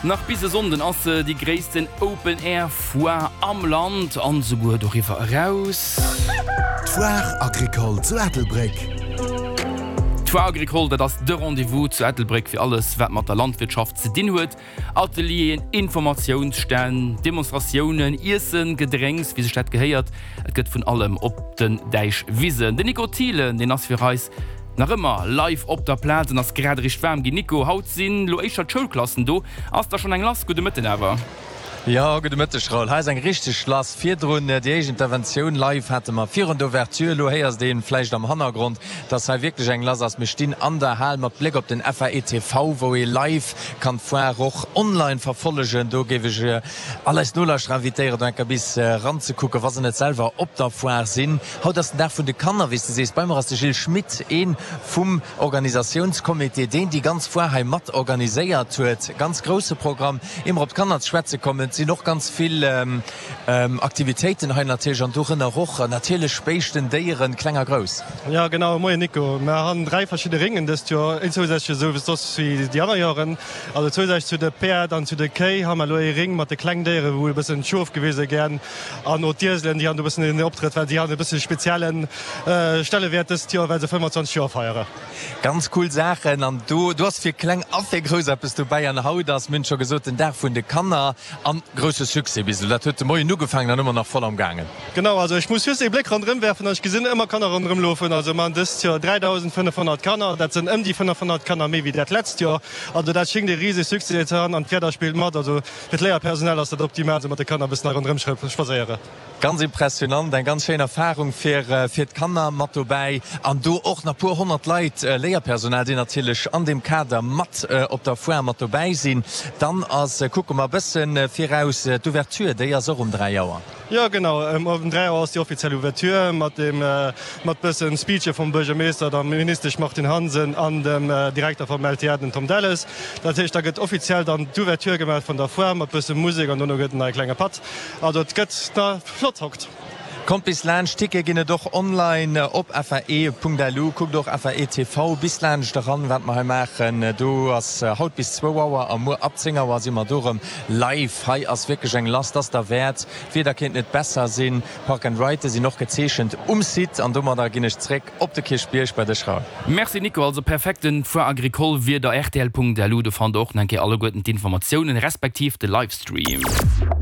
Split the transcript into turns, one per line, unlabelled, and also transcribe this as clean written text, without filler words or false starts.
Nach bis e Sonnden ass se déi gréissten Open Air Foire am Land an esouguer doriwwer eraus.
D'Foire Agricole zu Ettelbréck.
D'Foire Agricole, dat ass de Rendez-vous zu Ettelbréck fir alles wat mat der Landwirtschaft ze dinn huet. Atelieren, Informatiounsstänn, Demonstratiounen, Iessen, Gedrénks, wéi sech dat gehéiert. Et gëtt vun allem op den Däichwisen. Den Nico Thielen, deen ass fir eis nach ëmmer live op der Plaz an ass grad eréischt waarm ginn. Nico, haut sinn lo éischter d'Schoulklassen do. Ass da schonn eng lass? Gudde Mëtten awer.
Jo, gudde Mëtteg Raoul. Hei ass eng richteg lass. Virdrun déi éischt Interventioun live hate mer virun der Ouverture. Elo héiers de vläicht am Hannergrond, dass hei wierklech eng lass ass. Mir stinn an der Hal mat Bléck op den FAETV, wou ee live kann d'Foire och online verfollegen. Do géif ech all eis Nolauschterer invitéieren, do eng Kéier bis eranzekucken, wa se net selwer op der Foire sinn. Haut ass den Dag vun de Kanner, wéi s de sees. Bei mer ass de Gilles Schmit, ee vum Organisatiounscomité, deen déi ganz Foire hei mat organiséiert huet. Ganz grousse Programm. Ier mer op d'Kanner ze schwätze kommen, et sinn och ganz vill Aktivitéiten hei natierlech an dorënner och natierlech Béischten, Déieren, kleng a grouss.
Jo genau, moien Nico. Mer han 3 verschidde Ringen dëst Joer, een zousätzleche sou wéi soss wéi déi aner Joeren. Also zousätzlech zu de Päerd an zu de Kéi ha mer elo ee Ring mat de kleng Déieren, wou e bëssen d'Schof gewise gän an o d'Ieselen, déi han do bëssen een Optrëtt, well déi han e bësse speziellen Stellewäert dëst Joer, well se 25 Joer feiere.
Ganz cool Saachen an do do ass fir kleng a fir grouss eppes dobäi an haut ass, mir hunn et scho gesot, den Dag vun de Kanner an grousse Succès bis elo. Dat huet de Moien ugefaangen an ëmmer nach voll am gaangen.
Genau, also ech muss just ee Bléck ronderëm werfen an ech gesinn ëmmer Kanner ronderëm lofen. Also mer hunn dëst Joer 3.500 Kanner, dat sënn ëm déi 500 Kanner méi wéi dat letzt Joer. Also dat schéngt ee rise Succès ze han an d'Wieder spillt mat. Also fir d'Léierpersonal ass dat optimal, sou mat de Kanner e bëssen hei ronderëm spadséieren.
Ganz impressionant, eng ganz schéin Erfahrung fir fir d'Kanner mat dobäi an do och nach puer 100 Leit, Léierpersonal, déi natierlech an deem Kader mat op der Foire mat dobäi sinn. Dann ass, kucke mer e bësse viraus, d'Ouverture, déi ass och um 3 Auer.
Jo genau, um 3 Auer ass déi offiziell Ouverture mat dem mat bëssen Speeche vum Buergermeeschter, der Ministesch Martine Hansen an dem Direkter vum LTA, den Tom Delles. Dat heescht, da gëtt offiziell dann d'Ouverture gemaach vun der Foire mat bësse Musek an dono gëtt en e klenge Patt. Also et gëtt na flott hokt.
Kommt bis laanscht, Tickete ginn et och online op fae.lu. Kuckt och FAE TV bis laanscht eran, wat mer hei maachen. Do ass haut bis zwou Auer a muer ab 10 Auer si mer do erëm live. Hei ass wierklech eng lass, 't ass derwäert. D'Wieder kéint net besser sinn. Park and Ride sinn och gezeechent um Site an domadder ginn ech zréck op de Kierchbierg bei dech Raoul.
Merci Nico, also perfekten Foire Agricole Wieder rtl.lu, do fannt der och nach eng Kéier alleguerten d'Informatiounen respektiv de Livestream.